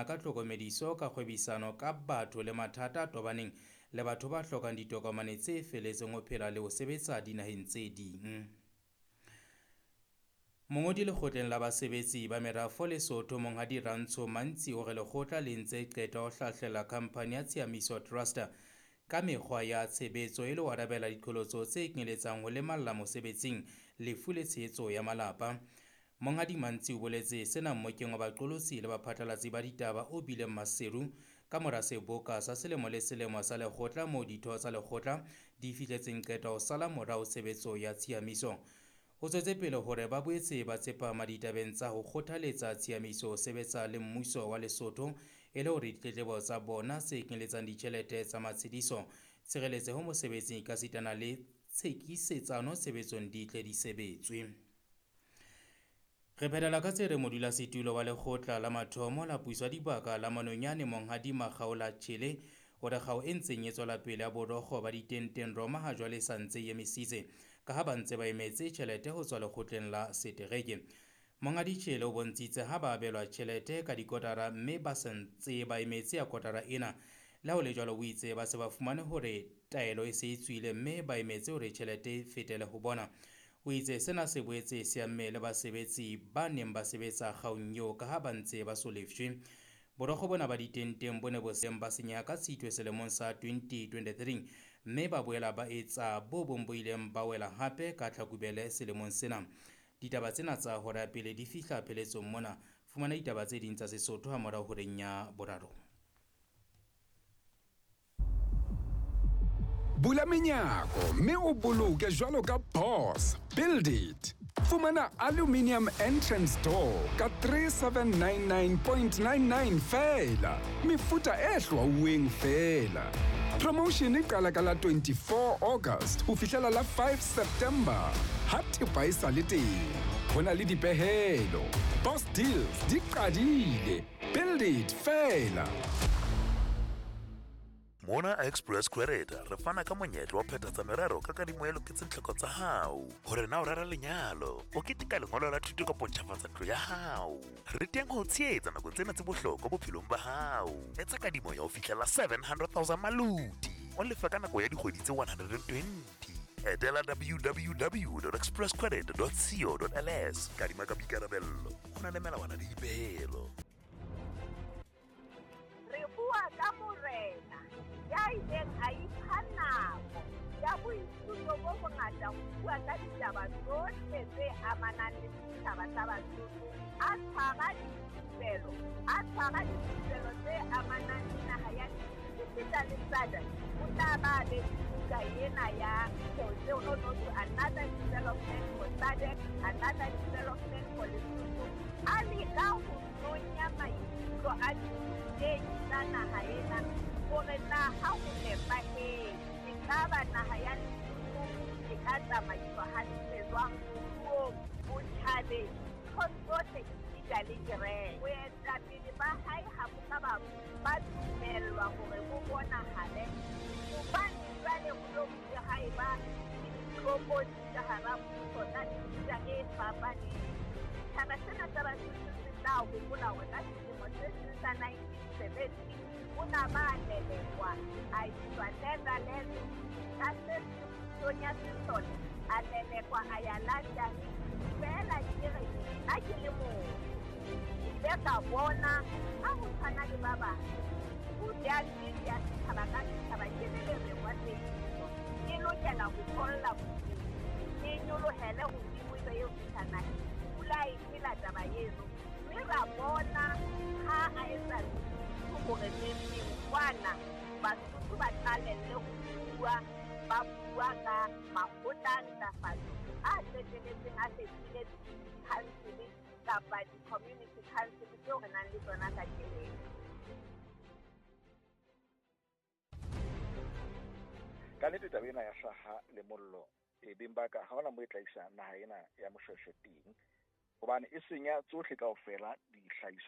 ka tlhokomediso ka kgwebisano ka batho le mathata a tobaneng le batho ba hlokang ditokomane tse feletseng ho phela le ho sebetsa dinaheng tse ding. Mongodi lekgotleng la basebetsi ba merafo Lesotho Monghadi Rantsho Mantsi o re lekgotla le ntse qeta ho hlahlela khamphani ya Tshiamiso Trust ka mekgwa ya tshebetso e le ho arabela diqholotso tse kenyeletsang ho lemalla mosebetsing, lefu le tshehetso ya malapa. Monghadi Mantsi o boletse sena mmokeng wa baqolotsi le baphatlalatsi ba ditaba o bileng Maseru ka mora seboka sa selemo le selemo sa lekgotla moo ditho tsa lekgotla di fihletseng qeto ho sala morao tshebetso ya tshiamiso. O tswetse pele hore ba boetse ba tsepama ditabeng tsa ho kgothaletsa tshiamiso ho sebetsa le mmuso wa Lesotho e le hore ditletlebo tsa bona tse kenyeletsang ditjhelete tsa matshediso, tshireletseho mosebetsing ekasitana le tshekisetsano tshebetsong di tle di sebetswe. Re phethela ka tse reng modulasetulo wa lekgotla la mathomo la puso ya dibaka la Manonyane Monghadi Makgaola Tjhele o re kgao e ntseng e tswela pele ya borokgo ba ditenteng Roma ha jwale e sa ntse e emisitse ka ha ba ntse ba emetse tjhelete ho tswa lekgotleng la setereke. Monghadi Tjhele o bontshitse ha ba abelwa tjhelete ka dikotara mme ba sa ntse ba emetse ya kotara ena. Le ha ho le jwalo o itse ba se ba fumane hore taelo e se e tswile mme ba emetse hore tjhelete e fetele ho bona. O itse sena se boetse se amme le basebetsi ba neng ba sebetsa kgaong eo ka ha ba ntse ba so lefshwe. Borokgo bona ba ditenteng bo ne bo seng ba senyeha ka Tshitwe selemong sa 2023 mme ba boela ba etsa bo bong bo ileng ba wela hape ka Tlhakubele selemong sena. Ditaba tsena tsa hora ya pele di fihla pheletsong mona. Fumana ditaba tse ding tsa Sesotho hamorao horeng ya boraro. Bula menyako mme o boloke jwalo ka boss. Build it. Fumana aluminium entrance door ka 3799.99 feela. Mefuta e hlwauweng feela. Promotion e qala ka la 24 August ho fihlela la 5 September. Ha thepa e sa le teng, ho na le dipehelo. Boss deals di qadile. Build it feela. Mona Express Credit re fana ka monyetla wa phethatsa merero ka kadimo e loketseng tlhoko tsa hao. Hore na o rera lenyalo, o keteka lengolo la thuto kapa o ntjhafatsa ntlo ya hao. Re teng ho o tshehetsa nakong tsena tse bohlokwa bophelong ba hao. Etsa kadimo ya ho fihlela 700,000 maluti, o lefe ka nako ya dikgwedi tse 120. Etela www.expresscredit.co.ls. Kadima ka boikarabello, ho na le melawana le dipehelo. Re bua ka morena ya ileng a ipha nako ya boithuto bo bongata ho bua ka ditaba tsohle tse amanang le setjhaba sa Basotho, a tshwara dithupelo, a tshwara dithupelo tse amanang le naha ya esita le SADC. O tla ba a be le buka ena ya no no to another development for SADC, another development for Lesotho. A leka ho nonya maikutlo a ditei tsa naha ena hore na ha ho nepahetse ekaba naha ya Lesotho e ka tsamaiswa hantle jwang moruong, botjhabeng, nthong tsohle esita le kereke. Boetapele ba hae ha bo ka ba dumellwa hore bo bonahale hobane jwale ho lo bile ha eba le ditlokotsi ka hara mmuso tsa mefuta e fapaneng. Setjhaba sena sa Basotho se tla hopola hore ka selemo se seng sa 1970 o na ba lelekwa a iswa Netherlands, ka se seng pusong ya sesole a lelekwa a ya London. Feela ke re nna ke le motho ke ile ka bona ha ho tshwana le ba bang ho ya nnete ya setjhaba ka setjhaba ke le lereng wa tsebiso ke lokela ho tholla bodimo ke nyolohele hodimo ebe eo fihla naheng. Pula e phela taba eno mme ra bona ha a etsa hore neng kwana Basotho ba qalelle ho bua, ba bua ka makgotla a ntlafatso a qetelletseng a fetohile di-council kapa di-community council tseo re nang le tsona kajeno. Ka nnete taba ena ya hlaha le mollo e beng ba ka ha hona moo e tla isa naha ena ya Moshweshwe teng, hobane e senya tsohle kaofela dihlahiswa.